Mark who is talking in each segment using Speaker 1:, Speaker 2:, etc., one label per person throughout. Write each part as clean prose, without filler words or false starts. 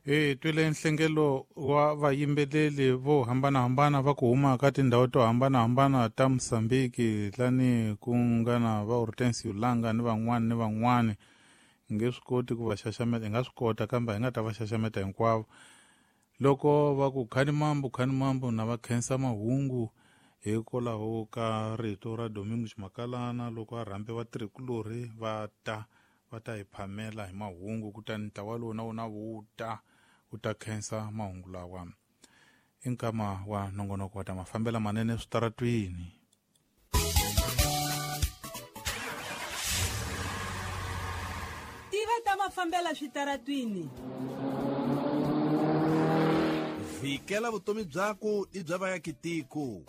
Speaker 1: Hi twile nhlengelo wa vayimbeleri vo hambanahambana va ku huma ka tindhawu to hambanahambana ta Mozambique, lani ku nga na va Hortensio Langa ni van'wani ni van'wani. Hi nge swi koti ku va xaxameta, hi nga swi kota kambe hi nga ta va xaxameta hinkwavo. Loko va ku khani mambu khani mambu na va khensa mahungu hikwalaho ka rito ra Domingos Makalana loko a rhambe vatirhikulorhi va ta hi phamela hi mahungu, kutani ntlawa lowu na wona wu ta khensa mahungu lawa. I nkama wa nongonoko wa ta mafambela manene switaratwini.
Speaker 2: Tiva ta mafambela switaratwini.
Speaker 3: Vikela vutomi byaku ni bya vayakitiko.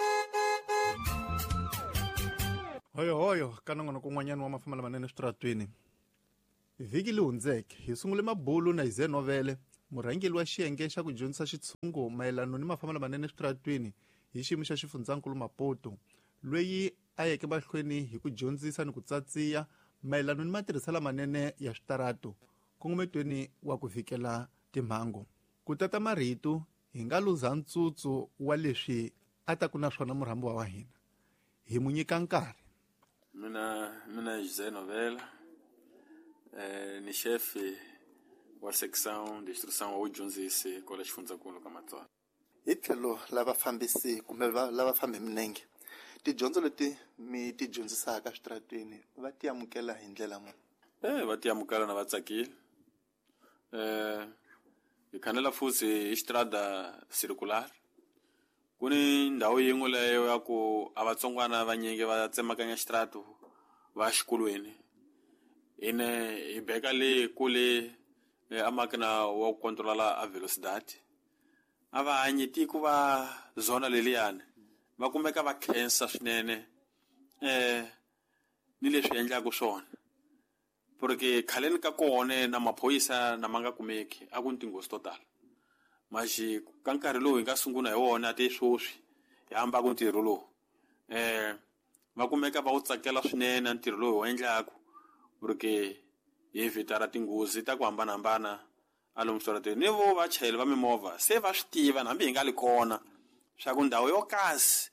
Speaker 4: Hoyo hoyo ka nongonoko un'wanyana wa mafambela manene switaratwini. Vhiki li hundzeke hi sungule mabulu na Ize Novele, murhangeri wa xiyenge xa ku dyondzisa xitshungu mayelano ni mafambelo manene switaratwini hi xiyimo xa xifundzankulu Maputo, loyi a yeke mahlweni hi ku dyondzisa ni ku tsatsiya mayelano ni matirhiselo manene ya switaratu kongometweni wa ku vikela timhangu. Ku tata marito hi nga luza ntsutsu wa leswi a ta ku na swona murhambiwa wa hina, hi mu nyika nkarhi.
Speaker 5: Mina José Novela, ni chefe wa section de instrução wa dyondzisi kwala xifundzankulu ka Matswana.
Speaker 4: Hi tlhelo lava fambisi kumbe lava fambi minenge, tidyondzo leti mi ti dyondzisaka switaratwini va ti amukela hi ndlela muni?
Speaker 5: Va ti amukela na va tsakile. Hi khanela futhi hi xitrada circular. Ku ni ndhawu yin'we leyo ya ku a vatsongwana vanyingi va tsemakanya xitratu va xikolweni. Ine hi beka le kule a makina wa ku controla a velocidade. A va hanyi tiko va zona leliyani va kumeka va khensa swinene ni leswi endlaka swona, porque khaleni ka kona na maphorisa na ma nga kumeki a ku ni tinghozi to tala. Maxi ka nkarhi lowu hi nga sungula hi wona te sweswi hi hamba ku ntirho lowu, va kumeka va wu tsakela swinene ntirho lowu hi wu endlaku, porque hi vhitara tinghozi ta ku hambanahambana a lomu switarateni. Ni vo vachayeri va mimovha se va swi tiva hambi hi nga li kona swa ku ndhawu yo kasi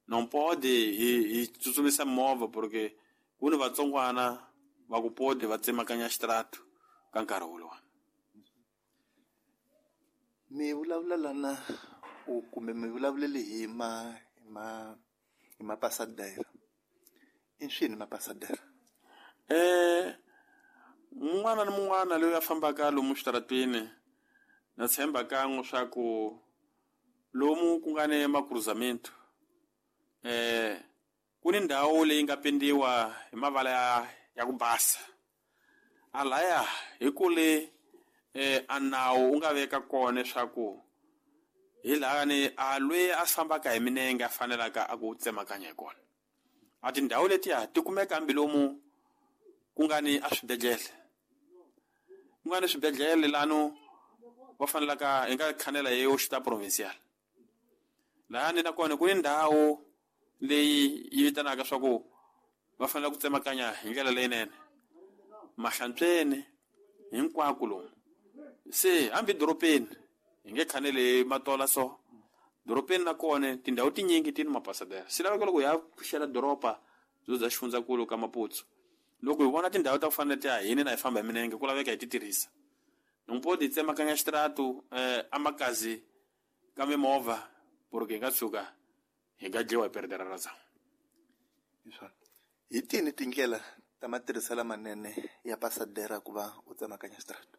Speaker 5: non pode hi tsutsumisa movha, porque ku ni vatsongwana va ku pode va tsemakanya xitaratu ka nkarhi wolowo.
Speaker 4: Mi vulavula lana kumbe mi vulavulele hi hi mapasadera. I swini mapasadera?
Speaker 5: Mun'wana ni mun'wana loyi a fambaka lomu switaratwini na tshemba kan'we swa ku lomu ku nga ni makruzamento, ku ni ndhawu leyi nga pendiwa hi mavala ya ku basa. A laya hi kule a nawu wu nga veka kona leswaku hi laha ni a loyi a fambaka hi minenge a fanelaka a ku tsemakanya hi kona. A tindhawu letiya ti kumeka hambi lomu ku nga ni a swibedhlele, ku nga ni swibedhlele lano va fanelaka hi nga khanela hi hospital provincial. Laha ni nakona ku ni ndhawu leyi yi vitanaka swa ku va fanele ku tsemakanya hi ndlela leyinene mahlantsweni hinkwako lomu. Se hambi doropeni hi nge khaneli matola so doropeni na kona tindhawu tinyingi ti ni mapasadera. Swi laveka loko hi ya pfuxela doroba byo bya xifundzankulu ka Maputo, loko hi vona tindhawu ta ku fana na letiya hini na hi famba hi minenge ku laveka hi ti tirhisa. Nompo ti tsemakanya xitaratu a makazi ka mimovha porque hi nga tshuka hi nga dliwa hi perdera ra zamu.
Speaker 4: Hi tini tindlela ta matirhiselo manene ya pasadera ku va u tsemakanya xitaratu?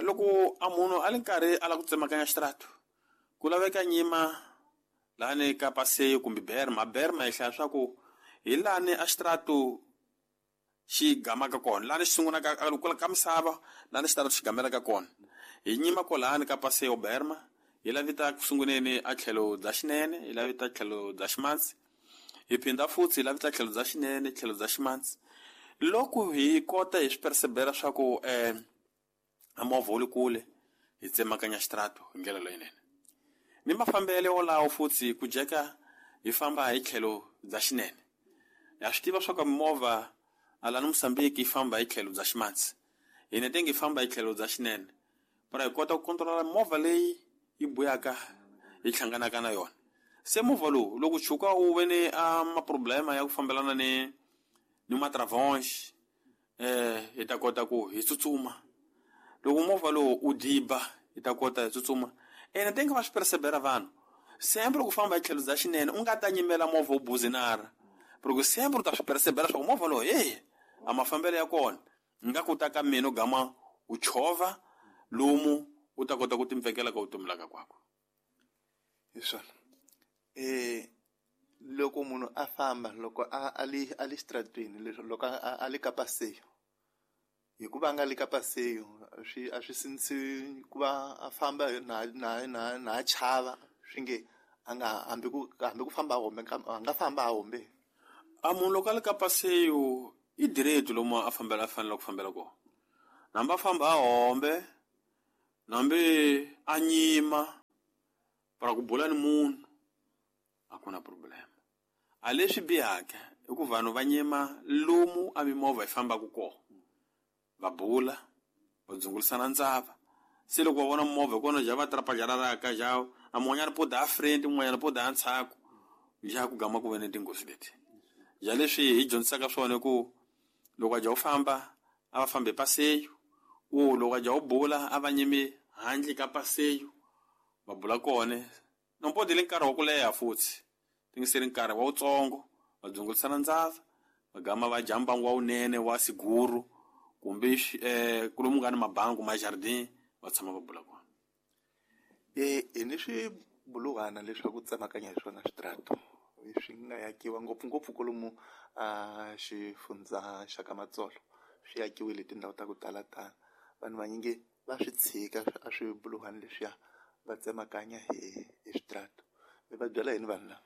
Speaker 5: Loko a munhu a li nkarhi a lava ku tsemakanya xitaratu, ku laveka nyima lani ka paseyo kumbe berma. Berma hi hlaya swa ku hi lani a xitaratu xi gamaka kona, lani xi sungulaka ka misava, lani xitaratu xi gamelaka kona. Hi nyima kwalani ka paseyo berma, hi lavita ku sunguleni a tlhelo bya xinene, hi lavita tlhelo bya ximatsi. Hi phinda futhi hi lavita tlhelo bya xinene, tlhelo bya ximatsi. Loko hi kota hi swi persevera swa ku a movha wu le kule, hi tsemakanya xitaratu hi ndlela leyinene. Ni mafambelo wolawo futhi ku jeka hi famba hi tlhelo bya xinene. Ha swi tiva swa ku mimovha a lani Mozambique yi famba hi tlhelo bya ximatsi, hina tenge hi famba hi tlhelo bya xinene. Para hi kota ku controla movha leyi yi buyaka yi hlanganaka na yona. Se movha lowu loko tshuka wu ve ni a maproblema ya ku fambelana ni matravonge, hi ta kota ku hi tsutsuma. Loko movha lowu u diba, hi ta kota hi tsutsuma. Ene tenge va swi percebera vanhu. Sempre ku famba hi tlhelo bya xinene u nga ta nyimela movha wu buzinara. Porque sempre u ta swi percebera swa ku movha lowu a mafambelo ya kona nga ku ta ka mina u gama u chovha lomu u ta kota ku timpfekela ka vutomi laka kwako.
Speaker 4: Hi swona. Loko munhu a famba loko a le xitarateni leswi loko a le ka paseyo, hikuva a nga le ka paseyo a swi sindzisi ku va a famba na chava swi nge a nga hambi ku famba a hombe a nga famba a hombe.
Speaker 5: A munhu loko a le ka paseyo i direct lomu a fambela a fanele ku fambela kona. Hambi a famba a hombe, hambi a nyima para ku bula ni munhu a ku na problem. A leswi bihaka i ku vanhu va nyima lomu a mimovha yi fambaka kona, va bula, va dzungulisana ndzava. Se loko va vona movha hi kona ja va trapajararaka ja a mun'wanyana po da friend, mun'wanyana po da ntshaku, ja ku gama ku ve ni tinghozi leti. Ja leswi hi dyondzisaka swona i ku loko a ja u famba a va fambi paseyo, u loko a ja u bula a va nyimi handle ka paseyo va bula kona. Nompo dile nkarhi wa ku leha futhi tingiseri nkarhi wa wutsongo va dzungulisana ndzava, va gama va dya mbangu wa wunene wa siguru kumbe kulomu nga ni mabangu ma jardin va tshama va bula kona.
Speaker 4: Hi ni swibuluhwana leswaku tsemakanya hi swona switrato swi nga yakiwa ngopfungopfu kwalomu a xifundza xa ka Matsolo, swi yakiwile tindhawu ta ku talatala. Vanhu vanyingi va swi tshika a swibuluhwana leswiya va tsemakanya hi switrato. Mi va byela yini vanhu lava?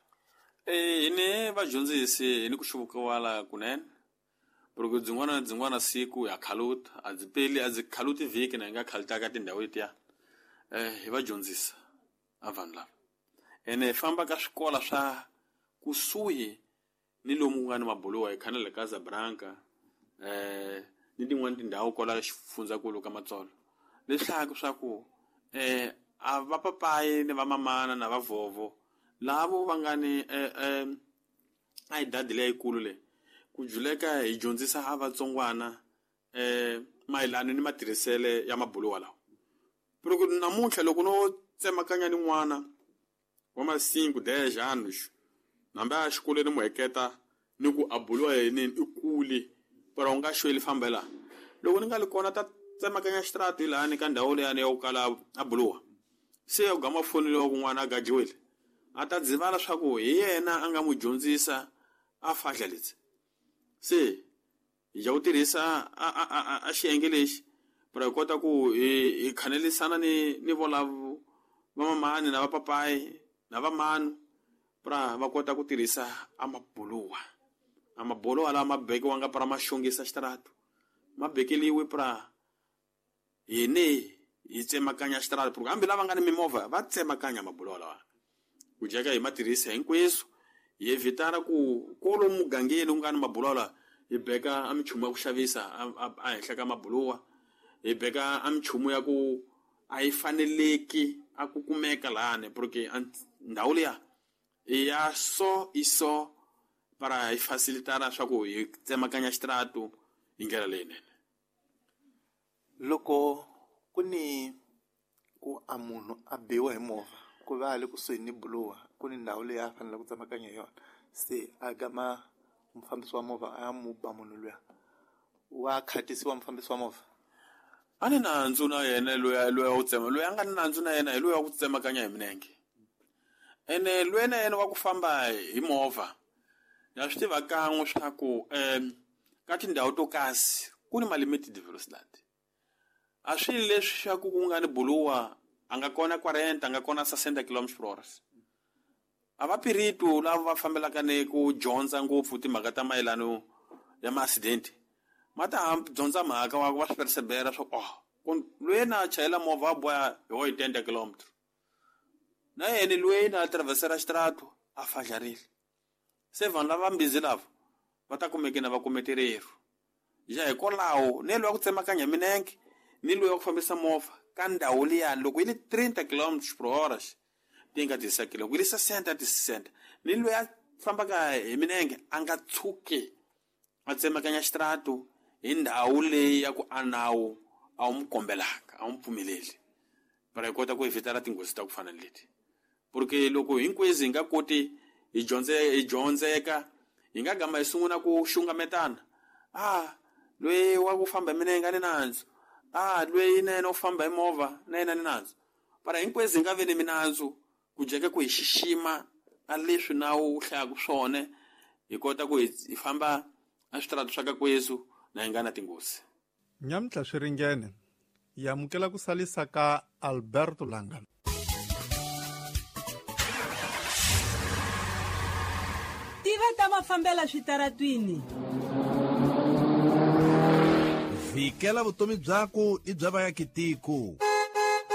Speaker 5: Hi ni vadyondzisi hi ni ku xuvukiwala kunene. Porque byin'wana na byin'wana siku ya khaluta, a byi peli, a byi khaluti vhiki na hi nga khalutaka tindhawu letiya. Hi va dyondzisa a vanhu lava. Ene hi famba ka swikola swa kusuhi ni lomu ku nga ni mabuluwa, hi khana le ka Casablanca, ni tin'wani tindhawu kwala xifundzankulu ka Matsolo. Leswaku swa ku a va papayi ni va mamana na va vovo lavo va nga ni a hi dadi leyikulu leyi ku juleka hi dyondzisa a vatsongwana mayelana ni matirhisele ya mabuluwa lawa. Loko namuntlha loko no tsemakanya ni n'wana wa ma-5 10 anos hambi a xikolweni mu heketa ni ku a buluwa yini i kule para u nga xweli fambela. Loko ni nga li kona ta tsemakanya xitrato lani ka ndhawu leyani ya ku kala a buluwa, se u gama fonile wa kun'wana a gajiwile, a ta dzivala swa ku hi yena a nga n'wi dyondzisa a fahla leti. Se hi ja ku tirhisa a xiyenge lexi para hi kota ku hi khanelisana ni volavo va mamani na va papayi na va manu para va kota ku tirhisa a mabuluwa. A mabuluwa lawa ma bekiwanga para ma xongisa xitrato, ma bekeliwe para hine hi tsemakanya xitrato, porque hambi lava nga ni mimovha va tsemakanya mabuluwa lawa. Ku jeka hi ma tirhisa hinkweswo, hi evitara ku kwalomu mugangeni ku nga ni mabuluwa lawa hi beka a minchumu ya ku xavisa a henhla ka mabuluwa, hi beka a minchumu ya ku a yi faneleki a ku kumeka lani, porque ndhawu liya i ya so i so para hi facilitara swa ku hi tsemakanya xitrato hi ndlela leyinene.
Speaker 4: Loko ku ni ku a munhu a biwa hi movha ku va a le kusuhi ni buluwa, ku ni ndhawu leyi a fanele ku tsemakanya hi yona, se a gama mufambisi wa movha a ya mu ba munhu luya, wa khatisiwa mufambisi wa movha?
Speaker 5: A ni nandzu na yena loyi wa ku tsema, loyi a nga ni nandzu na yena hi loyi wa ku tsemakanya hi milenge. Ene loyi na yena wa ku famba hi movha, ya swi tiva kan'we swa ku ka tindhawu to kasi ku ni ma-limited velocity. A swi leswi swa ku ku nga ni buluwa a nga kona 40, a nga kona 60 kilometers per hour. A va piritu lava va fambelaka ni ku dyondza ngopfu timhaka ta mayelano ya ma-accident, ma ta dyondza mhaka wa va swi persevera swa ku loyi na chayela movha a boha hi wo hi 10 kilometers, na yena loyi na traversera xitrato a fadlarile. Se vanhu lava mbizi lava va ta kumeke na va kumeterero. Ja hikwalaho ne loyi wa ku tsemakanya minenge Ni loyi wa ku fambisa movha ka ndhawu liyani loko yi li 30 km por hora ti nga 16 loko yi li 60 ti 60. Ni loyi a fambaka hi minenge a nga tshuki a tsemakanya xitaratu hi ndhawu leyi ya ku a nawu a wu n'wi kombelanga, a wu n'wi pfumeleli, para hi kota ku evitara tinghozi ta ku fana ni leti. Porque loko hinkwezi hi nga koti hi dyondzeka, hi nga gama hi sungula ku xungametana. Loyi wa ku famba hi minenge a ni nandzu, loyi na yena u famba hi movha na yena ni nandzu. Para hinkwezi hi nga vi ni minandzu, ku jeka ku hi xixima a leswi nawu wu hlayaka swona, hi kota ku hi famba a switaratu swa ka kwezu na hi nga na tinghozi.
Speaker 4: Nyamuntlha swi ringene, hi amukela ku salisa ka Alberto Langa.
Speaker 2: Tiva ta mafambela switaratwini.
Speaker 3: Vhikela vutomi byaku ni bya vaakitiko.